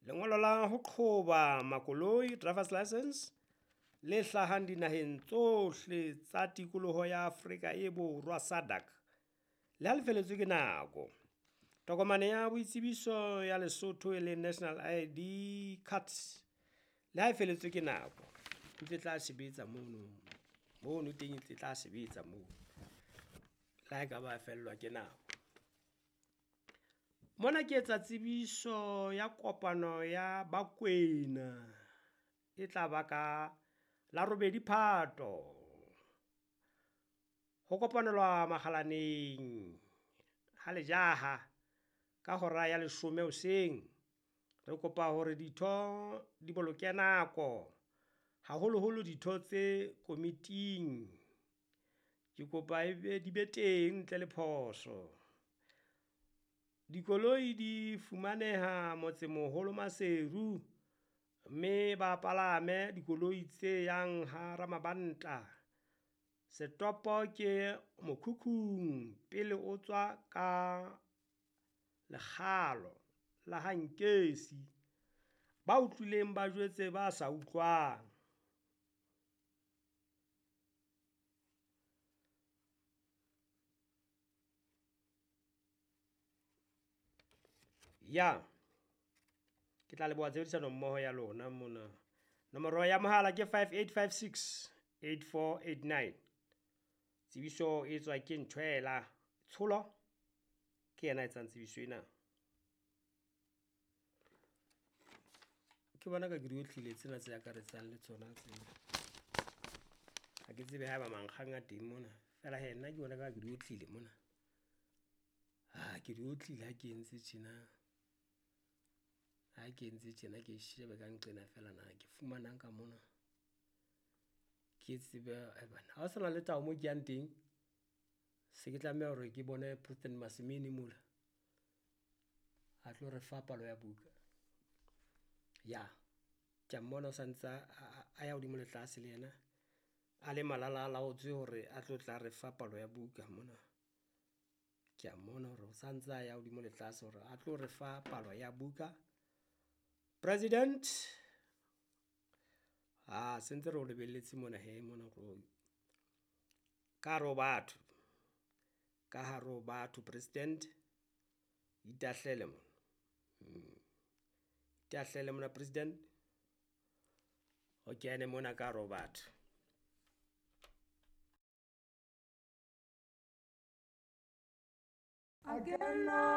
Lengolo la ho qhoba makoloi, driver's licence, le hlahang dinaheng tsohle tsa tikoloho ya Afrika e Borwa SADC, le ha le felletswe ke nako. Tokomane ya boitsebiso ya Lesotho e leng national ID card, le ha e felletswe ke nako ntse tla sebetsa mono, mono teng e ntse tla sebetsa moo le ha ekaba fellwa ke nako. Mona ke etsa tsebiso ya kopano ya Bakwena e tla ba ka la robedi Phato, ho kopanelwa makgalaneng ha lejaha ka hora ya leshome hoseng. Re kopa hore ditho di boloke nako, haholoholo ditho tse komiting, ke kopa di be teng ntle le phoso. Dikoloi di fumaneha motsemoholo Maseru, mme ba palame dikoloi tse yang ha Ramabanta, setopo ke mokhukhung pele o tswa ka lekgalo la ha Ngesi. Ba utlwileng ba jwetse ba sa utlwang. Ya, ke tla leboha tshebedisano mmoho ya lona mona, nomoro ya mohala ke 5856 8489. Tsebiso e etswa ke Ntjwela Tsholo, ke yena a etsang tsebiso ena. Ke bona ka ke di otlile tsena tse akaretsang le tsona tsena, ha ke tsebe haeba mankgang a teng mona feela hee nna ke bona ekare ke di otlile mona, ke di otlile ha ke entse tjena, ha ke entse tjena ke shebe ka nqena feela na ke fumanang ka mona. Ke tsebe ae banna, ha ho sana le taba moo ke yang teng, se ke tlameha hore ke bone President Masimini mola, a tlo re fa palo ya buka. Ya, kea mmona o santsa a ya hodimo le tlase le yena a le malalalaotswe hore a tlo tla re fa palo ya buka mona. Kea mmona hore o santsa a ya hodimo le tlase hore a tlo re fa palo ya buka. President, sentse re o lebelletse mona hee mona ka hare ho batho, ka hare ho batho President, itahlele mona, itahlele mona President, o kene mona ka hare ho batho. A kena.